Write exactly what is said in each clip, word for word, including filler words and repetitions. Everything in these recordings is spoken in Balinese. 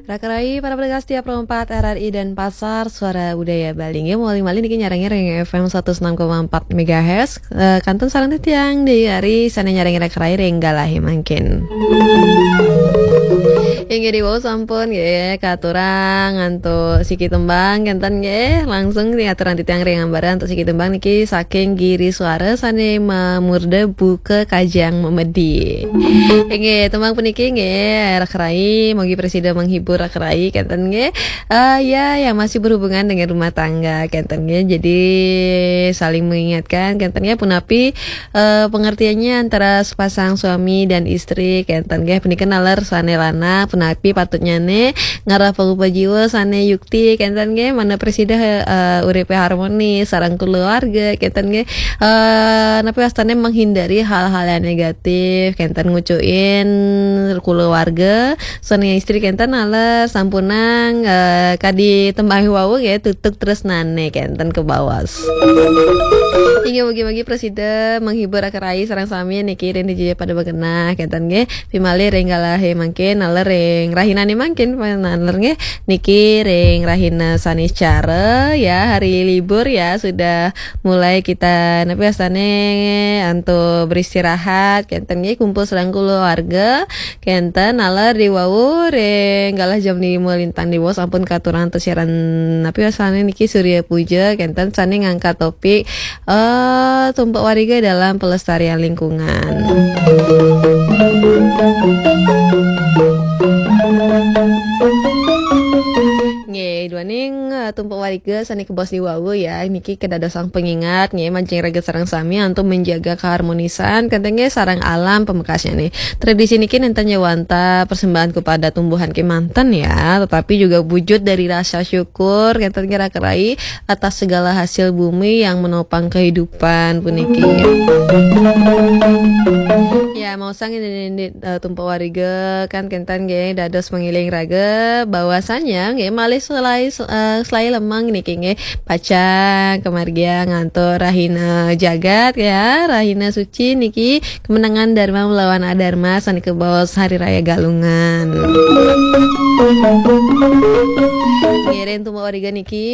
Raka rai para pendengar setia Pro empat R R I Denpasar, Suara Budaya Bali. Nggih, malih-malih niki nyarengin ring F M seratus enam koma empat megahertz. Eh, kantun sareng titiang Dewi Ari, sane nyarengin raka rai ring galahe mangkin. Inggih, diwau sampun nggih katurang antuk siki tembang kenten nggih. Langsung diaturang titiang ring ambara antuk siki tembang niki saking Giri Suara sane mamurda Buka Kajang Memedi. Inggih, tembang puniki nggih, raka rai, mugi prasida menghibur raka rai kenten nggih. Eh, ya, yang masih berhubungan dengan rumah tangga kenten nggih. Jadi saling mengingatkan kenten nggih, punapi eh, pengertiannya antara sepasang suami dan istri kenten nggih. Punika naler sane lanang punapi patutnyane ngarah pangupa jiwa sane yukti kenten nggih, mana prasida eh, uripe harmonis sareng keluarga kenten nggih. Eh, napi wastane menghindari hal-hal yang negatif kenten, ngucuin keluarga sane istri kenten naler sampunang eh, kadi tembang wau nggih, tutug tresnane kenten kebaos. Inggih, mugi-mugi prasida menghibur raka rai sareng sami niki ring dija pada begenah kenten nggih. Pimalih ring galahe mangkin, naler ring rahinane mangkin, naler nggih. Niki ring rahina Saniscara ya, hari libur ya, sudah mulai kita napi wastane antuk beristirahat kenten nggih, kumpul sareng keluarga kenten, naler diwau ring galah jam lima lintang diwau sampun katurang antuk siaran napi wastane niki Surya Puja kenten sane ngangkat topik eh, tumpek wariga dalam pelestarian lingkungan. Nggih, duaning eh, tumpek wariga sane kebaos diwau ya, niki kedadosang pengingat nggih, majeng raga sareng sami antuk menjaga keharmonisan kenten nggih sareng alam pamekasnyane. Tradisi niki nenten ya wantah persembahan kepada tumbuhan kemanten ya, tetapi juga wujud dari rasa syukur kenten nggih raka rai atas segala hasil bumi yang menopang kehidupan puniki. Ya, mau sang ini, ini, eh, tumpek wariga kan kenten nggih dados mengiling raga bahwasanya nggih malih selai eh, selai lemang niki nggih pacang kemargiang antuk rahina jagat ya, rahina suci niki kemenangan Dharma melawan Adharma sane kebaos Hari Raya Galungan. Ngiring tumpek wariga niki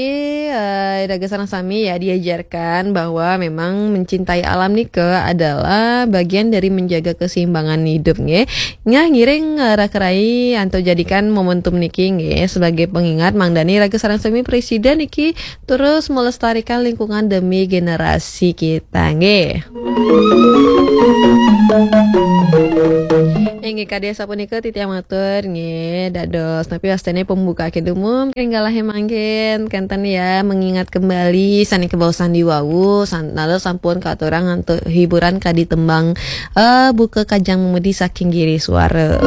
eh, raga sareng sami ya diajarkan bahwa memang mencintai alam nika adalah bagian dari menjaga keseimbangan hidup nggih. Nah, ngiring eh, raka rai antuk jadikan momentum niki nggih sebagai pengingat mangdane raga sareng sami prasida niki terus melestarikan lingkungan demi generasi kita nggih. Inggih kadi sapunika titiang matur nggih dados napi wastane pembuka kid umum ring galahe mangkin kenten ya, mengingat kembali sane kebaosan diwau san-, naler sampun katurang antuk hiburan kadi tembang eh, Buka Kajang Memedi saking Giri Suara.